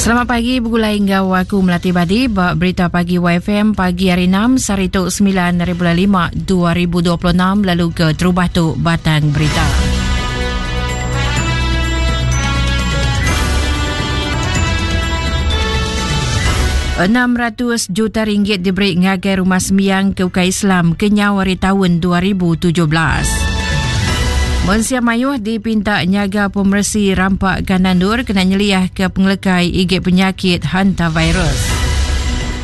Selamat pagi begulai enggau aku Melati Badi ba Berita Pagi YFM pagi hari 6 sehari tu 9 hari bulan 5 2026 lalu ke terubah tu batang berita. 600 juta ringgit diberi ngagai rumah sembiang ke ukai Islam kenyau hari tahun 2017. Mensia mayuh dipinta nyaga pemeresi rampa Ganandur kena nyeliah ke pengelekai igit penyakit hantavirus.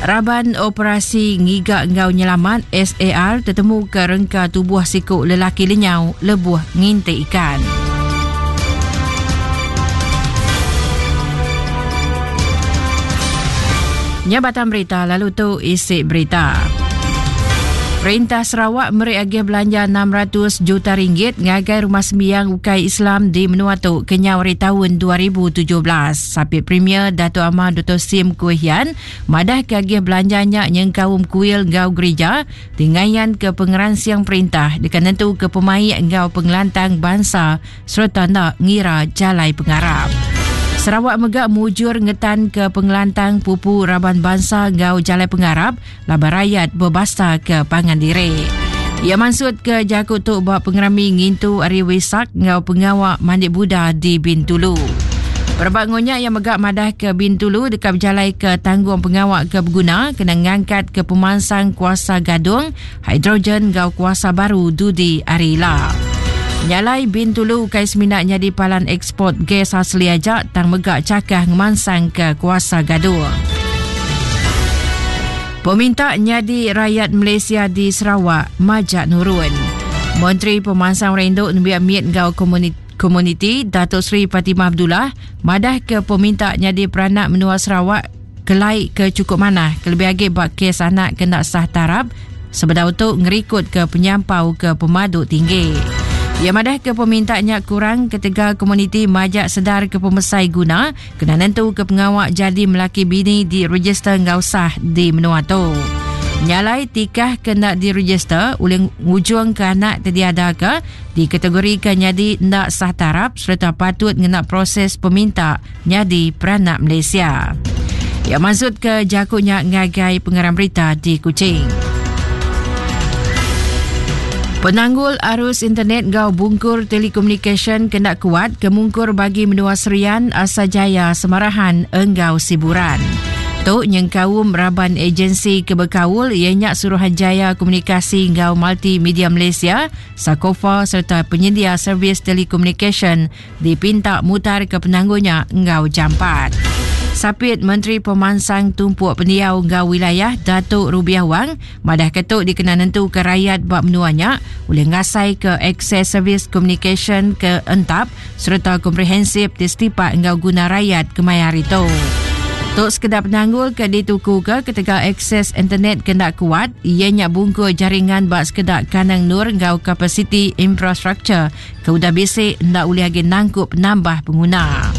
Raban operasi ngiga enggau nyelamat SAR tetemu ke rengka tubuh siku lelaki lenyau lebuh nginti ikan. Nya batang berita lalu tu isi berita. Perintah Sarawak meri agih belanja 600 juta ringgit ngagai rumah sembiang ukai Islam di menua tu kenyau ari taun 2017. Sapit Premier Datuk Amar Dr. Sim Kui Hian madah ke agih belanja nya nyengkaum kuil enggau gerija ti ngayan ke pengeransing perintah deka nentu ke pemaik enggau pengelantang bansa sereta enda ngira jalai pengarap. Sarawak mega mujur ngetanka pengelantang pupu raban bansa enggau jalai pengarap laban rayat bebasa ke pangan diri. Iya mansut ke jaku tu ba pengerami ngintu Hari Wesak enggau pengawa mandi Buddha di Bintulu. Berebak enggau nya, iya mega madah ke Bintulu deka bejalaika tanggung pengawa ke beguna kena ngangkatka pemansang kuasa gadung hidrogen enggau kuasa baru dudi hari ila. Nya alai Bintulu ukai semina nyadi palan eksport gas asli aja tang mega chakah ngemansangka kuasa gadung. Peminta nyadi rayat Malaysia di Sarawak majak nurun. Menteri Pemansang Orang Indu Nembiak Mit enggau Komuniti Datuk Seri Fatimah Abdullah madahka peminta nyadi peranak menua Sarawak kelai ke chukup manah kelebih agi ba kes anak ke enda sah tarap sebedau tu ngerikutka penyampau ke pemadu tinggi. Iya madahka peminta nya kurang ketegal komuniti majak sedar ke pemesai guna kena nentuka pengawa jadi melaki bini direjister enggau sah di menua tu. Nya alai tikah ke enda direjister ulih ngujungka anak ti diadaka dikategorika nyadi enda sah tarap sereta patut ngena proses peminta nyadi peranak Malaysia. Iya mansutka jaku nya ngagai pengarang berita di Kuching. Penanggul arus internet enggau bungkur telekomunikasyen kena kuat ke mungkur bagi menua Serian, Asajaya, Semarahan enggau Siburan. Tu nyengkaum raban agensi ke bekaul iya nya Suruhanjaya Komunikasi enggau Multimedia Malaysia, Sakofa sereta penyendia servis telekomunikasyen dipinta mutarka penanggul nya enggau jampat. Sapit Menteri Pemansang Tumpuk Pendiau enggau Wilayah Datuk Rubiah Wang madahka tu dikena nentuka rayat ba menua nya ulih ngasaika akses servis komunikasyen ke entap sereta komprehensif ti setipak enggau guna rayat kemaya hari tu. Tu sekeda penanggul ke ditukuka ketegal akses internet ke enda kuat iya nya bungkur jaringan ba sekeda kandang endur enggau kapasiti infrastruktur ke udah bisi enda ulih agi nangkup penambah penguna.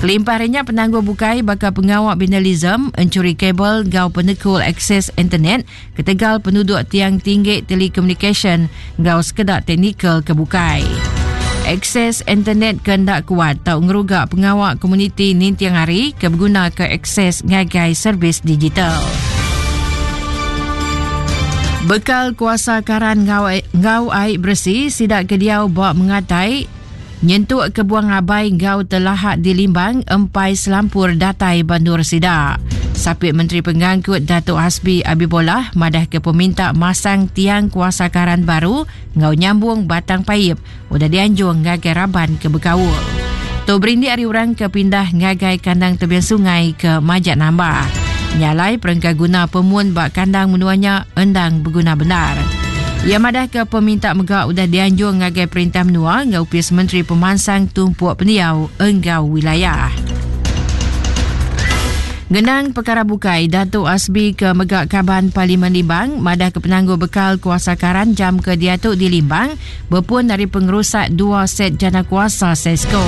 Kelimpah ari nya penanggul bukai baka pengawa vandalism, enchuri kabel enggau penekul akses internet ketegal penuduk tiang tinggi telekomunikasyen enggau sekeda teknikal ke bukai. Akses internet ke enda kuat tau ngeruga pengawa komuniti ninting hari ke begunaka akses ngagai servis digital. Bekal kuasa karan enggau enggau ai beresi sida ke diau ba Mengatai nyentuk ke Buang Abai enggau Telahak di Limbang empai selampur datai ba endur sida. Sapit Menteri Pengangkut Datuk Hasbi Abibollah madahka peminta masang tiang kuasa karan baru enggau nyambung batang paip udah dianjung ngagai raban ke bekaul. Tu berindik ari orang ke pindah ngagai kandang tebing sungai ke majak nambah. Nya alai perengka guna pemun ba kandang menua nya endang beguna bendar. Iya madahka peminta mega udah dianjung ngagai perintah menua enggau Opis Menteri Pemansang Tumpuk Pendiau enggau Wilayah. Ngenang pekara bukai, Datuk Asbi ke mega Kaban Parlimen Limbang madahka penanggul bekal kuasa karan jam ke diatu di Limbang bepun ari pengerusak dua set jana kuasa Sesco.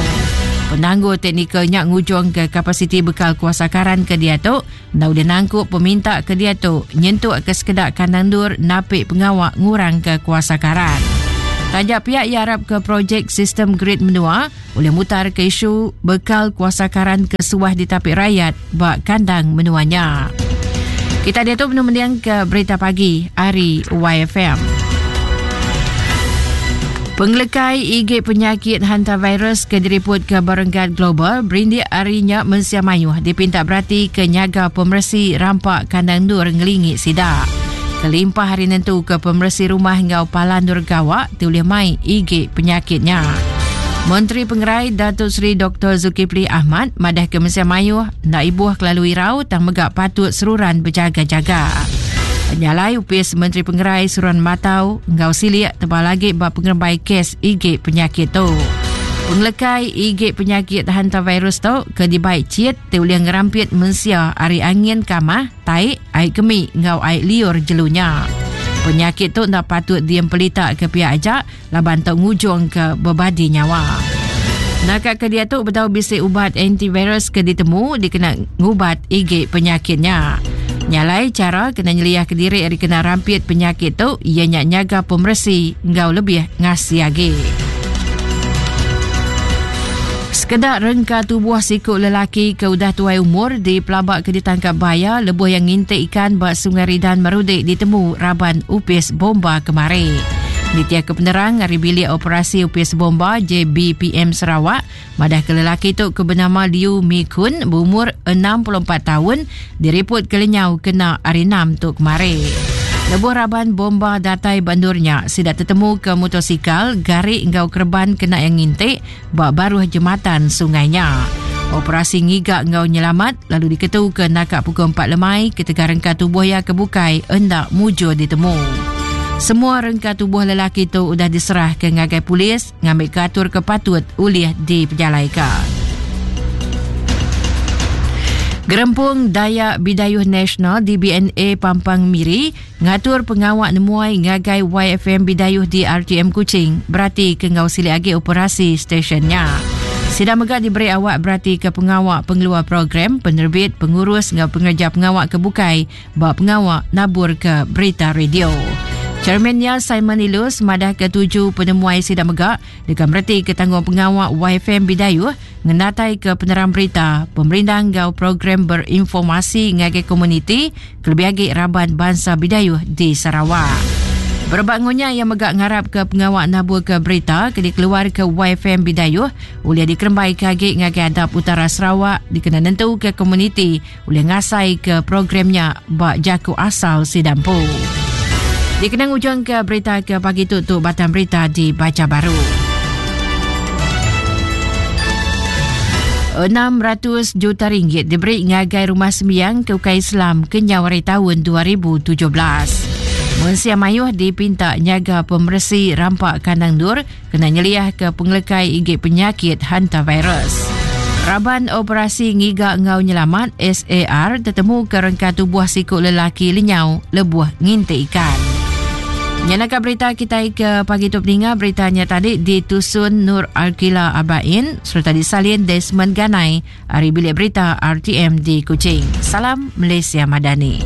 Penanggul teknikal nya ngujungka kapasiti bekal kuasa karan ke diatu enda ulih nangkup peminta ke diatu nyentuk ke sekeda kandang endur napi pengawa ngurangka kuasa karan. Taja pia iya arap ke projek sistem grid menua ulih mutar ke isu bekal kuasa karan ke suah ditapi rayat ba kandang menua nya. Kita diatu benung mending ke berita pagi ari YFM. Pengelekai igi penyakit hantavirus ke diriput ke berenggat global berindik ari nya mensia mayuh dipinta berati ke nyaga pemeresi rampa kandang endur ngelingi sida. Kelimpah ari nentu ke pemeresi rumah enggau palan endur gawa ti ulih mai igi penyakit nya. Menteri Pengerai Datuk Seri Doktor Zulkifli Ahmad madah ke mensia mayuh enda ibuh kelalu irau tang mega patut seruran bejaga-jaga. Nya alai Opis Menteri Pengerai seruran matau enggau silik tebal agi ba pengerembai kes igi penyakit tu. Pengelekai igi penyakit hantavirus tu ke dibai chit ti ulih ngerampit mensia ari angin kamah, tai, ai kemi enggau ai liur jelu nya. Penyakit tu enda patut diempelita ke pia aja laban tau ngujungka bebadi nyawa. Naka ke diatu bedau bisi ubat antivirus ke ditemu dikena ngubat igi penyakit nya. Nya alai chara kena nyeliahka diri ari kena rampit penyakit tu iya nya nyaga pemeresi enggau lebih ngasi agi. Sekeda rengka tubuh siku lelaki ke udah tuai umur dipelabaka ditangkap baya lebuh iya nginti ikan ba Sungai Ridan Marudi ditemu raban Opis Bomba kemari. Nitihka penerang ari Bilik Operasi Opis Bomba JBPM Sarawak, madahka lelaki tu ke benama Liu Mi Kun beumur 64 taun diripotka lenyau kena Hari Enam tu kemari. Lebuh raban bomba datai ba endur nya, sida tetemuka mutosikal, gari enggau kereban kena iya nginti ba baruh jematan sungai nya. Operasi ngiga enggau nyelamat lalu diketuka naka pukul 4 lemai ketegal rengka tubuh iya ke bukai enda mujur ditemu. Semua rengka tubuh lelaki tu udah diserahka ngagai polis ngambika atur ke patut ulih dipejalaika. Gerempung Dayak Bidayuh Nasional DBNA Pampang Miri Ngatur pengawa nemuai ngagai YFM Bidayuh di RTM Kuching berati ke enggau silik agi operasi stesen nya. Sida mega diberi awak berati ke pengawa pengeluar program, penerbit, pengurus enggau pengereja pengawa ke bukai ba pengawa naburka berita radio. Chairman nya Simon Ilus madahka tuju penemuai sida mega deka meretika tanggungpengawa YFM Bidayuh ngenataika penerang berita, pemerindang enggau program berinformasi ngagai komuniti kelebih agi raban bansa Bidayuh di Sarawak. Berebak enggau nya, iya mega ngarapka pengawa naburka berita ke dikeluarka YFM Bidayuh ulih dikerembaika agi ngagai adap utara Sarawak dikena nentuka komuniti ulih ngasaika program nya ba jaku asal sida empu. Dikena ngujungka berita ke pagi tu tu batang berita dibacha baru. 600 juta ringgit diberi ngagai rumah sembiang ke ukai Islam kenyau ari taun 2017. Mensia mayuh dipinta nyaga pemeresi rampa kandang endur kena nyeliahka pengelekai igi penyakit hantavirus. Raban Operasi Ngiga enggau Nyelamat, SAR, tetemuka rengka tubuh siku lelaki lenyau lebuh nginti ikan. Nyenaka berita kitai ke pagi tu peninga berita nya tadi ditusun Nur Arkila Abain sereta disalin Desmond Ganai ari Bilik Berita RTM di Kuching. Salam Malaysia Madani.